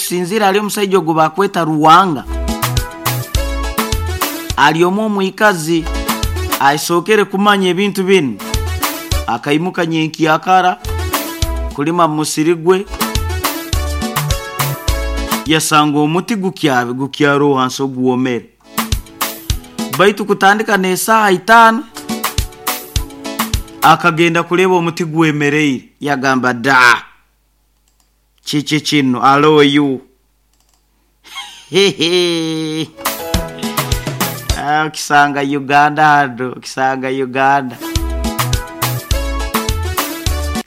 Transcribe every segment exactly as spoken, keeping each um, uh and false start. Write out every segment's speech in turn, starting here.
Okusinziira ali omusajja ogwo bakweta Ruwanga, ali omu omwikazi asookere kumanya ebintu binu, akaimuka nyenkyakara kulima mu musiri gwe, yasanga omuti gukyabe gukyaro hansi oguwomere. Baitu kutandika n'esaaha itaano akagenda kuleba omuti gwemereire, yagamba, "Da, kiki kino aloyu?" Hehe, okisanga Uganda hano, okisanga Uganda.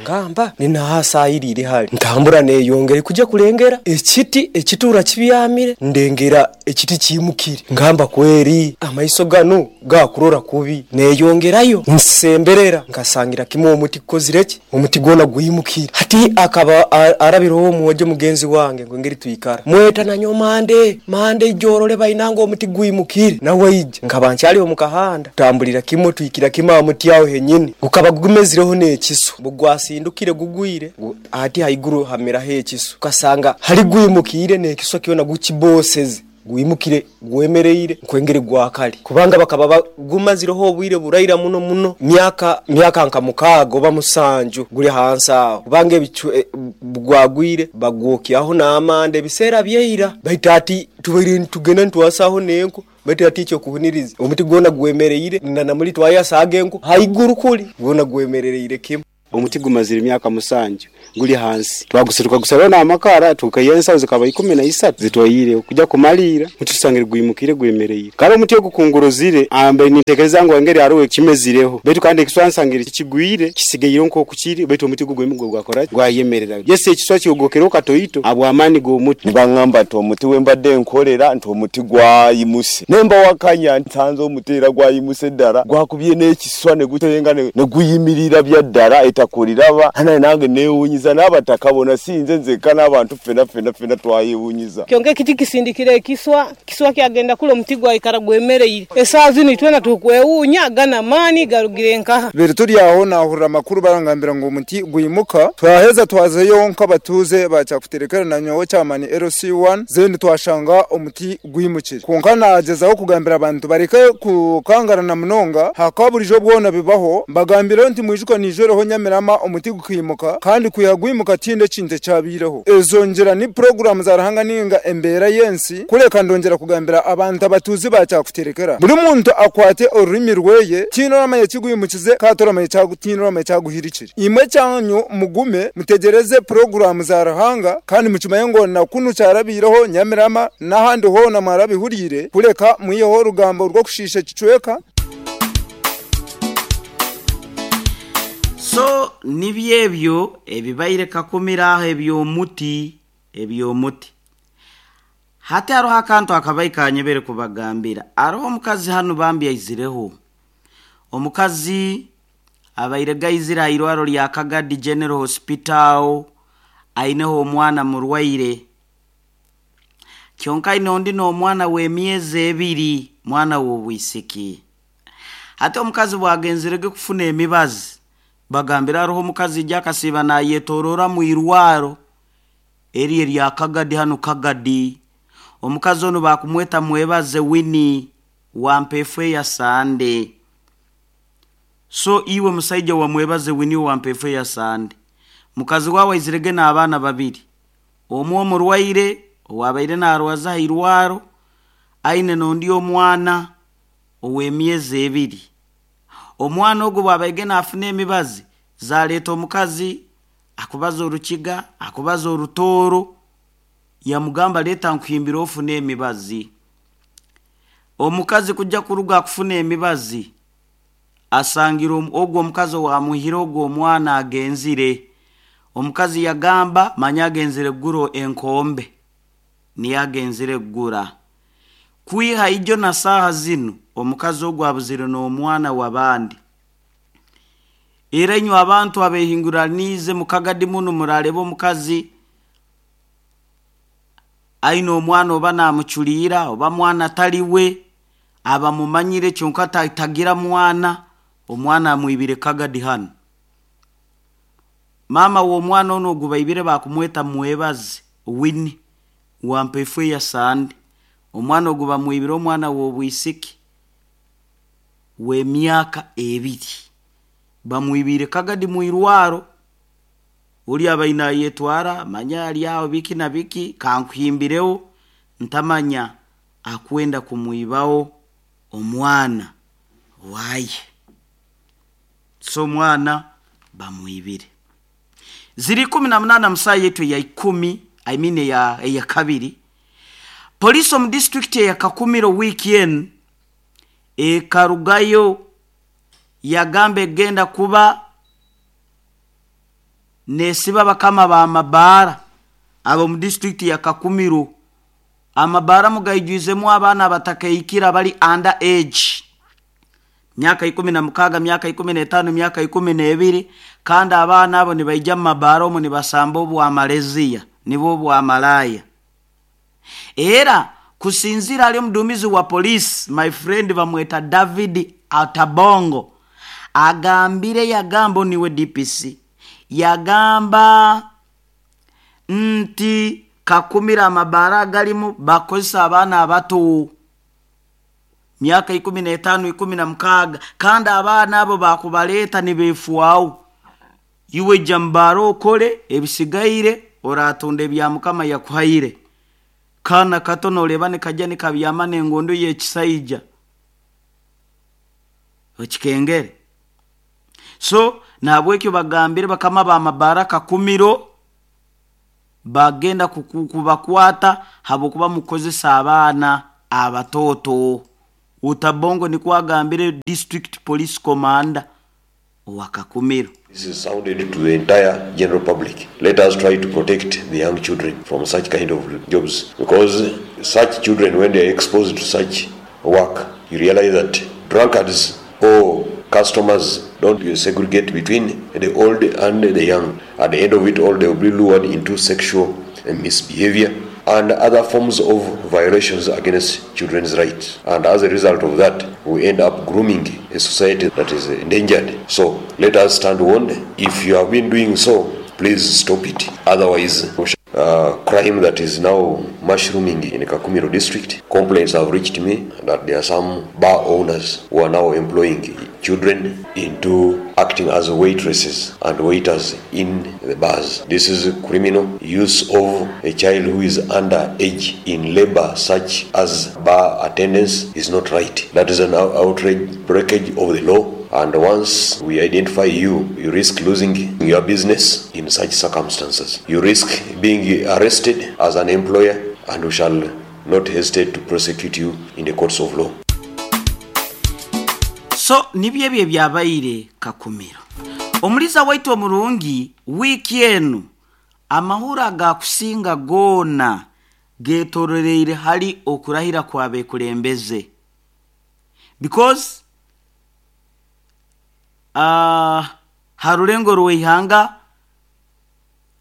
Ngamba ninahasayirire hali ntambura neyongere kujja kulengera ekiti ekitura kibyamire, ndengera ekiti kiimukire, ngamba kweri amaiso ganu gakurora kubi, neyongerayo nsemberera nkasangira kimwe omuti gukozire ki, omuti gwona gwimukire. Hati akaba arabireho omwojo mugenzi wange ngeri twikara mweta nanyo mande mande ijorole bainanga omuti gwimukire, nawe ija nkaba nkyali omu kahanda, tutambulira kimwe twikira kimwe aha muti aho henyini gukaba gumezireho n'ekisu bugwasindukire gugwire ati haiguru hameraho ekisu, ukasanga hali gwimukire n'ekisu kyona gukiboseze gwimukire gwemereire nkwengere gwakali kubanga bakaba gumazireho obwire buraira muno muno myaka myaka nka mukaaga oba musanju guli hansi aho, kubanga ebicu e, gwagwire bagwokyaho n'amanda ebiseera byeira. Baitu ati tubaire tugenda ntwasaho n'enku, baitu ati ekyokuhuniriza omuti gwona gwemereire na namuli twayasaga enku haiguru kuli gwona gwemereire kimu. Omuti gumazire emyaka musanju guli hansi, twagusiruka gusaraho n'amakara tukaiha zikaba ikumi na isatu zitwaire kujya kumalira muti tusangire gwimukire gwemereire. Kale omuti ogukunguruzire ambe nintekereza ngu engeri hariho ekimezireho, baitu kandi ekiswa nsangire kigwire kisigaire nk'oku kiri, baitu omuti gugwemu gwakora gwayemerera. Yesi ekiswa kyogokereho katoito abw'amaani g'omuti. Nibangamba nti omuti wembadde nkolera nti omuti gwayimuse, nemba wakanya nsanze omuti era gwayimuse ddala gwakubye n'ekiswa ne gutenga ne guyimirira bya ddala etakuliraba hana nange newunyiza n'abataka bona sinze nzeka n'abantu ffena ffena ffena twayewunyiza. Kyonka ekiti kisindikire ekiswa, kiswa kyagenda kula omuti gwayikara gwemereire. Esaaha zinu twena tukwewuunya gana maani garugire nkaha. Biri turi aho nahurira amakuru barangambira ngu omuti gwimuka, twaheza twazeyo nk'abatuuze bakyakuterekera na nyowe kyamani L C one zendi twashanga omuti gwimukire. Kwonka nagezaho kugambira abantu bareke kukangarana munonga hakaba burijo bwona bibaho, mbagambire nti mwijuka nijoreho Nyamirama omuti gukimuka kandi kwiha gwimuka tinde ekintu ekyabireho. Ezo ngira ni program za Ruhanga ninga embeera y'ensi kureka ndongera kugambira abantu abatuuzi bakyakuterekera buri muntu akwate orurimi rweye tino ramanye kigwimukize katoramaye cyagutino ramanye cyaguhirikire. Imwe cyanyu mugume mutegereze program za Ruhanga kandi mukimaye ngo na kunu cyarabireho Nyamirama n'ahandi hona mwarabihurire kureka mwiyeho rugambo rwo kushisha kicweka. So nibyebyo ebibaire kakumira ebyomuti ebyomuti. Hati hariho akantu akabaye kanyebere kubagambira. Hariho omukazi hano bambi aizireho. Omukazi abaire gaizira airwaro lya Kagadi General Hospital aineho omwana murwaire. Kyonka aine ondi n'omwana w'emyezi ebiri, mwana w'obwisiki. Hati omukazi bwagenzerege kufuna emibazi, bagambira hariho omukazi ijja akasiiba nayetorora mu irwaro eri erya Kagadi hano Kagadi. Omukazi ono bakumweta Mwebaze Winnie wampefu ya Sande. So iwe musaija wa Mwebaze Winnie wampefu ya Sande, mukazi wawe aizirege n'abaana babiri, omwe omurwaire owabaire narwaza irwaro aine n'ondi omwana ow'emyezi ebiri. Omwana ogwo bwabaige nafuna emibazi zaleeta omukazi akubaza orukiga akubaza orutooro, yamugamba leeta nkuhimbire ofune emibazi. Omukazi kujja kuruga akufuna emibazi asangira ogwo omukazi owamuhire ogwo omwana agenzire. Omukazi yagamba manya agenzire guro enkombe niyo agenzire gura. Kwiha ijo na saha zinu omukazi ogwo abuzire n'omwana w'abandi. Era inywe abantu abehinguranize mukagadi muno murareba omukazi aine omwana oba namuculiira oba mwana taliwe, abamumanyire kyonka tagira mwana, omwana amwibire Kagadi hano. Mama w'omwana ono ogu baibire bakumweta Mwebaze Winnie wampa eya sande omwana ogu bamwibire omwana w'obwisiki w'emyaka ebiri bamwibire kagadi mwirwaro uli abaina yetwara manya ali aho biki na biki kankuhimbireho ntamanya akwenda kumwibaho omwana waye so omwana bamwibire ziri kumi na munana musaa yetu ya ikumi I mean ya, ya kabiri polisi omu district ya Kakumiro weekend ekarugayo yagamba egenda kuba nesiba bakama ba mabaara abo mu district ya Kakumiro amabaara mugaijwizemu abaana abatakaikira bali under age myaka ikumi na mukaga myaka ikumi n'etaano myaka ikumi n'ebiri kandi abaana abo nibaija mu mabaara omu nibasamba obwamaleziya nibo obwamalaya era kusinzira ali omuduumizi wa polisi my friend bamweta David Atabongo agambire yagamba niwe D P C yagamba nti Kakumira amabaara galimu bakozesa abaana abato myaka ikumi n'etaano ikumi na mukaga kandi abaana abo bakubaleeta nibeefuawo iwe jambaro okole ebisigaire oratunda ebya mukama yakuhaire kana kato noleba nikajja nikabyama n'engondo y'ekisaija okikengere so nahabwekyo bagambire bakama ba mabaara Kakumiro bagenda kubakwata habwokuba mukozesa abaana abatoto. Utabongo nikuwa agambire district police commander wa Kakumiro. This is sounded to the entire general public. Let us try to protect the young children from such kind of jobs, because such children, when they are exposed to such work, you realize that drunkards or customers don't segregate between the old and the young. At the end of it all, they will be lured into sexual misbehavior and other forms of violations against children's rights. And as a result of that, we end up grooming a society that is endangered. So let us stand warned. If you have been doing so, please stop it. Otherwise, uh, crime that is now mushrooming in Kakumiro district, complaints have reached me that there are some bar owners who are now employing children into acting as waitresses and waiters in the bars. This is criminal use of a child who is under age in labor such as bar attendance is not right. That is an outrage breakage of the law. And once we identify you, you risk losing your business in such circumstances. You risk being arrested as an employer, and we shall not hesitate to prosecute you in the courts of law. So, nibyo ebyo byabaire Kakumiro. Omuliza waitu omurungi, wiiki enu, amahura gakusinga goona getororeire hali okurahira kwabekulembeze. Because Uh, harulengo rweihanga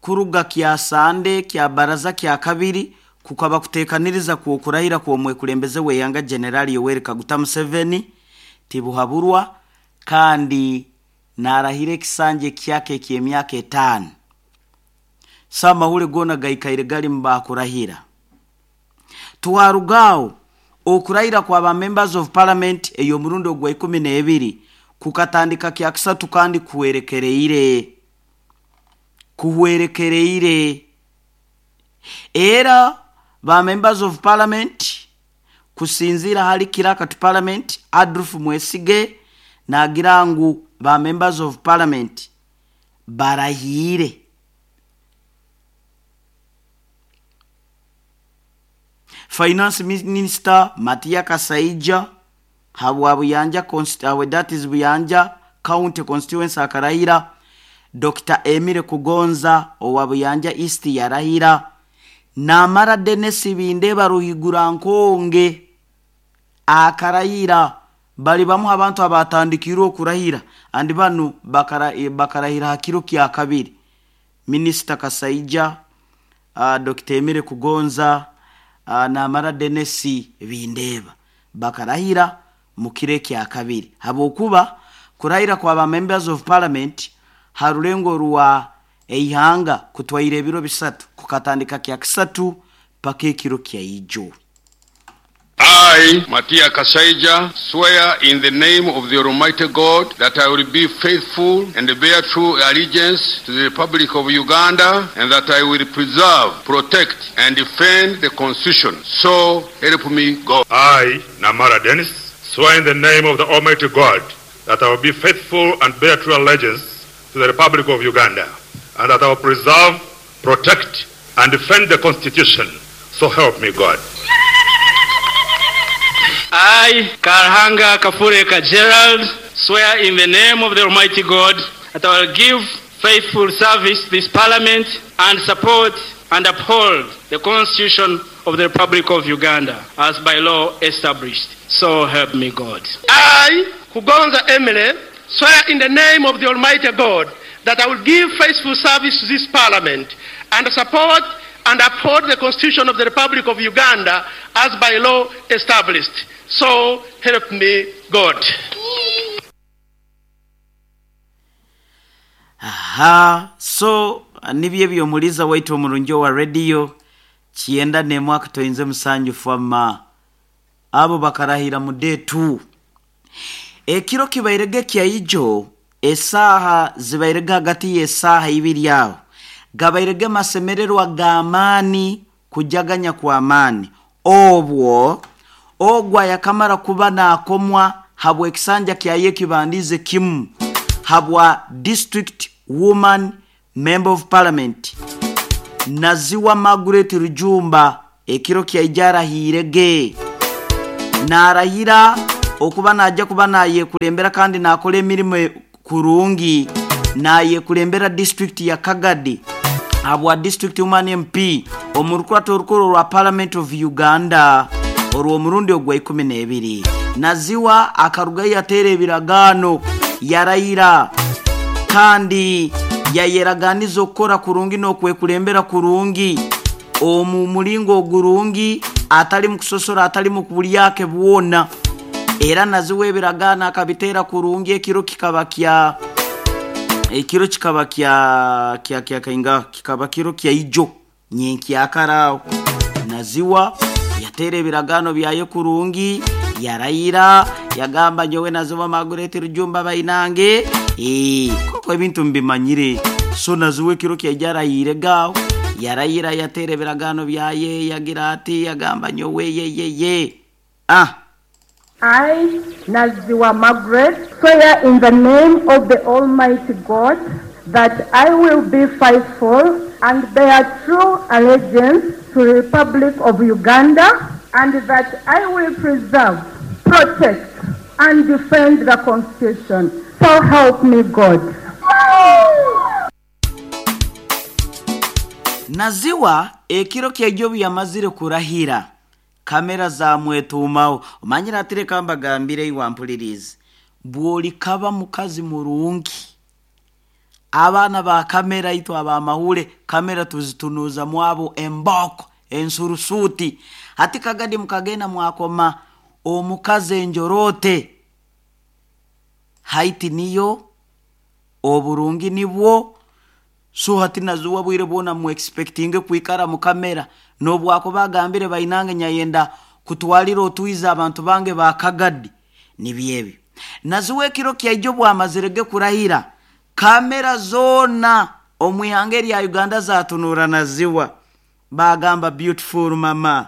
kuruga kya sande kya baraza kya kabiri kukaba kutekaniriza kuokurahira kuomwekulembeze weihanga General Yoweri Kaguta Museveni tibuhaburwa kandi narahire kisanje kyake ky'emyaka etaano. Samahule gona gaikaire gali mbakurahira. Tuwarugao okurahira kwa ba members of parliament eyo murundo gwa ikumi n'ebiri kukatandika kya kisatu kandi kuwerekereire kuwerekereire era ba members of parliament kusinzira hali kiraka to parliament Adolf Mwesige nagira ngu ba members of parliament barahire Finance Minister Matia Kasaija habwa Buyanja constituency, that is Buyanja County constituency akarahira. Doctor Emile Kugonza owa Buyanja East yarahira. Namara Dennis Bindeba Ruhigura Nkonge akarahira. Bali bamu abantu abatandikirwe okurahira andi banu bakara bakarahira hakiro kya kabiri. Minister Kasaija, uh, Doctor Emile Kugonza, uh, Namara Dennis Bindeba bakarahira mukire kya kabiri. Habokuba kurahira kwa ba members of parliament harulengo rwa eihanga kutwaire ebiro bisatu kukatandika kya kisatu paka ekiro kya ijo. I, Matia Kasaija, swear in the name of the Almighty God that I will be faithful and bear true allegiance to the Republic of Uganda and that I will preserve, protect, and defend the Constitution. So help me God. I, Namara Dennis, swear in the name of the Almighty God that I will be faithful and bear true allegiance to the Republic of Uganda and that I will preserve, protect, and defend the Constitution. So help me God. I, Karhanga Kafureka Gerald, swear in the name of the Almighty God that I will give faithful service to this Parliament and support and uphold the Constitution of the Republic of Uganda as by law established. So help me God. I, Kugonza Emily, swear in the name of the Almighty God that I will give faithful service to this Parliament and support and uphold the Constitution of the Republic of Uganda as by law established. So help me God. Aha, so nibye byomuliza waitu omurungi wa radio kyenda n'emwaka toyinze musanju fama abo bakarahira mu day two. Ekiro kibairege kya ijo esaha zibairege hagati y'esaha ibiri aho gabairege masemererwa g'amaani kujaganya kwa amaani obwo ogwa yakamara kuba nakomwa habwa ekisanja kyaye kibandize kimu habwa district woman member of parliament Naziwa Margaret Rujumba ekiro kya ijara hirege narahira okuba najja kuba naye kulembera kandi nakola emirimu kurungi naye kulembera district ya Kagadi habwa district woman M P omurukurato orukuru rwa Parliament of Uganda orwo murundi ogwa ikumi n'ebiri. Naziwa akaruga yatere ebiragano yarayira kandi yayeraganiza okukora kurungi n'okwekulembera kurungi omu mulingo ogurungi atali mu kusosora atali mu kubulyake bwona. Era Naziwa ebiragano akabitera kurungi ekiro kikaba kya ekiro kikaba kya kya kya kainga kikaba kiro kya ijo nyenki akarao. Naziwa yatere ebiragano byaye kurungi yarayira yagamba nyowe Naziwa Margaret Rujumba bainange eh koko ebintu mbimanyire. So Naziwa ekiro kya yarayire gao yarayira yatere ebiragano byaye yagira ati yagamba nyowe ye ye ye ah I, Naziwa Margaret, swear in the name of the Almighty God that I will be faithful and bear true allegiance to the Republic of Uganda and that I will preserve, protect, and defend the Constitution. So help me God. Naziwa ekiro kya jobu yamazire kurahira kamera za mwetumawo omanyira atire kamba gambire iwampulirize bwoli kaba mukazi murungi abaana ba kamera itu abamahule kamera tuzitunuza mwabo emboko ensurusuti hati Kagadi mukagenda mwakoma omukazi enjorote haiti niyo oburungi nibwo. So hati Naziwa bwire bwona mu expectinge kuikara mu kamera nobwako bagambire bainange nyayenda kutwalira otuiza abantu bange ba Kagadi nibyebi. Naziwa ekiro kya ijo bwamazirege kurahira kamera zona omwihanga ya Uganda zatunura Naziwa bagamba beautiful mama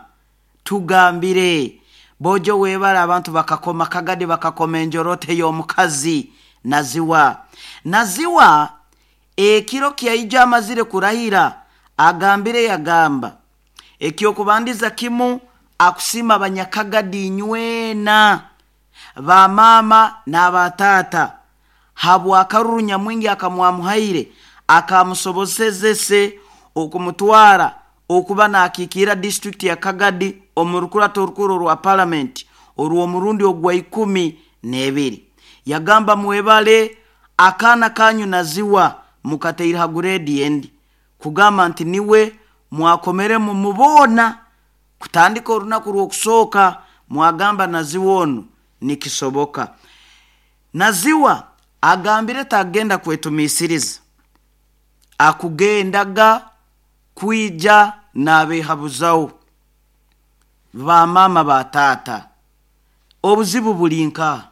tugambire bojo webara abantu bakakoma Kagadi bakakoma enjorote y'omukazi Naziwa. Naziwa ekiro kya ijo amazire kurahira agambire yagamba ekyo kubandiza kimu akusima banyakagadi nywena ba mama n'abatata habwa karuru nyamwingi akamwamuhaire akamusobosezese okumutwara okuba nakikira district ya Kagadi omurukurato orukuru rwa parliament orwo murundi ogwa ikumi n'ebiri. Yagamba mwebale akana kanyu Naziwa mukateira haguredi endi kugamba nti niwe mwakomere mumubona kutandika orunaku rw'okusooka mwagamba Naziwa ono nikisoboka. Naziwa agambire tagenda kwetumisiriza akugendaga kwija n'abehabuzawo. Ba mama ba taata, obuzibu buli nka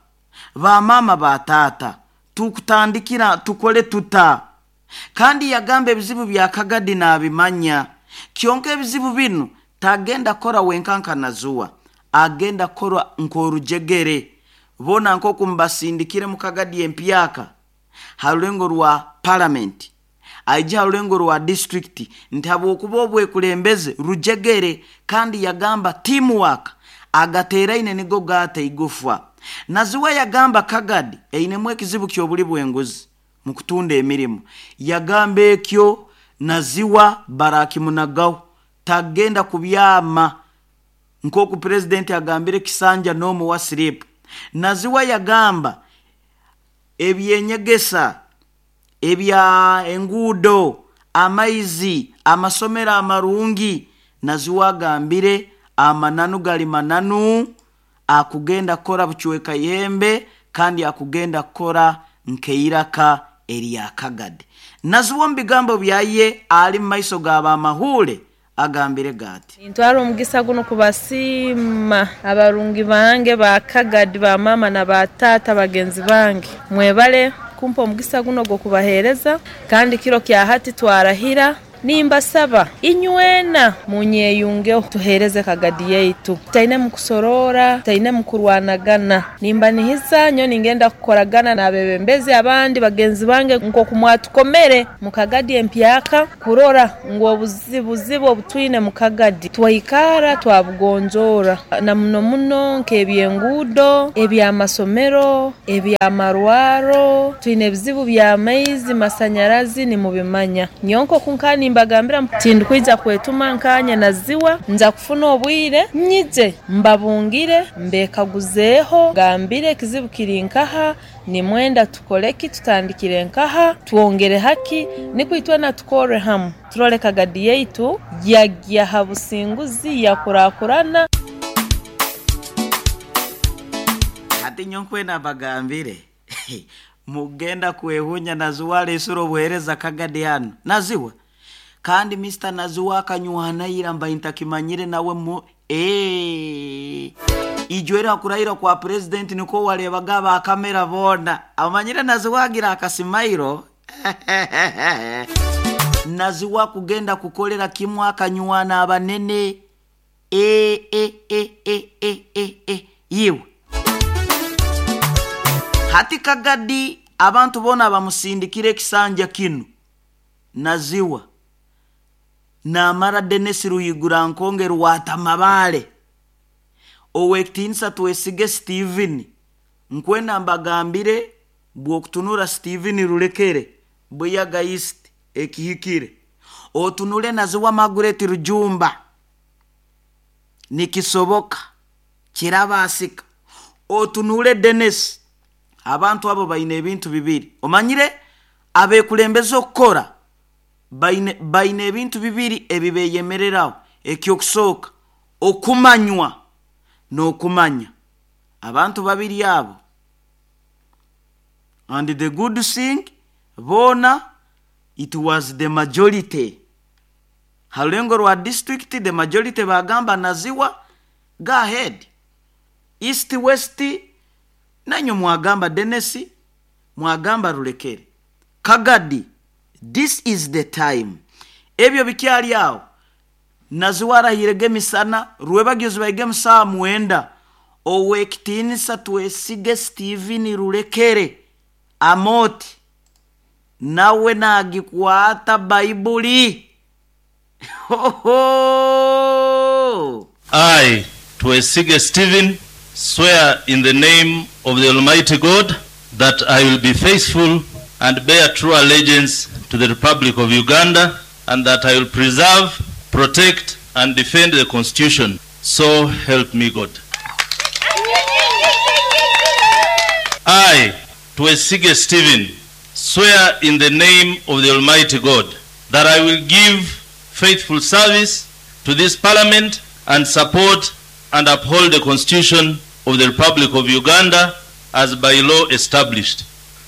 ba mama ba taata, tukutandikira tukole tuta. Kandi yagamba ebizibu bya Kagadi n'abimanya. Kyonka ebizibu binu tagenda kora wenkanka nazuwa, agenda kora nkorujegere. Bona nkoku mbasindikire mu Kagadi empyaka harulengo rwa parliament, aija harulengo rwa district, nti habwokuba obwekulembeze rujegere. Kandi yagamba teamwork agateraine nigo gata igufwa. Naziwa yagamba Kagadi einemu ekizibu ky'obuli bw'enguzi mu kutunda emirimu. Yagamba ekyo Naziwa barakimunagaho, tagenda kubyama nkoku president agambire kisanja n'omuwa slip. Naziwa yagamba ebyenyegesa, ebya enguudo, amaizi, amasomero amarungi. Naziwa agambire amananu gali mananu, akugenda kukora bucweka yembe kandi akugenda kukora nkeiraka erya Kagadi. Naziwa mu bigambo byaye ali mu maiso g'abamahule agambire gati, ntwara omugisa guno kubasiima abarungi bange ba Kagadi, ba mama na ba tata bagenzi bange, mwebale kumpa omugisa guno gwokubahereza. Kandi kiro kya hati twarahira nimbasaba inywena munyeyungeho tuhereze Kagadi yaitu, taine mukusorora, taine mukurwanagana. Nimba nihiza nyo ningenda kukoragana n'abebembezi abandi bagenzi bange nkoku mwatukomere mu Kagadi empyaka, kurora ngu obuzibuzibu obutwine mu Kagadi twaikara twabugonjora, na muno muno nk'ebyenguudo, ebyamasomero, ebyamarwaro. Twine ebizibu by'amaizi, masanyarazi nimubimanya. Nyonko kunkani mbagambira tindikwija kwetuma nkanye naziwa, nza kufuna obwire nyije mbabungire mbekaguzeeho, gambire ekizibu kiri nkaha, nimwenda tukoleki, tutandikire nkaha, twongere haki, nikwitwe na tukore hamu, turole Kagadi yaitu yagya ha businguzi yakurakurana. Ati nyonkwena bagambire mugenda kwehunya Naziwa lesura obuhereza Kagadi hano Naziwa. Kandi Mister Naziwa akanywana mba intakimanyire nawe mu eh ijwera kurahira kwa president niko walebaga ba kamera bona amanyire Naziwa agira akasimairo. Naziwa kugenda kukolera kimwe akanywana abanene e e e e e e e yiwe. Hati Kagadi abantu bona bamusindikire ekisanja kinu Naziwa namara Dennis Ruyigura nkonge rwatamabale owekitinsa Twesige Steven. Nkwenda mbagambire bwokutunura Steven Rulekere Buyaga East ekihikire, otunule Naziwa Margaret Rujumba nikisoboka kirabasika, otunule Dennis. Abantu abo baine ebintu bibiri omanyire abekulembeza okukora baine baine ebintu bibiri ebibeyemereraho. Ekyokusooka okumanywa n'okumanya. Abantu babiri abo, and the good thing bona it was the majority halulengo rwa district, the majority bagamba Naziwa go ahead. East west nanyo mwagamba Dennis, mwagamba Rulekere. Kagadi, this is the time. Ebyo bikyali awo. Naziwa arahirege misana, rwebagyozi baige musaa mwenda. Owekitinisa Twesige Steven Rulekere amoti nawe nagikwata Baibuli. Ho ho. I, Twesige Steven, swear in the name of the Almighty God that I will be faithful and bear true allegiance to the Republic of Uganda, and that I will preserve, protect, and defend the Constitution. So help me God. I, Twesige Stephen, swear in the name of the Almighty God that I will give faithful service to this Parliament and support and uphold the Constitution of the Republic of Uganda as by law established.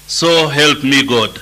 So help me God.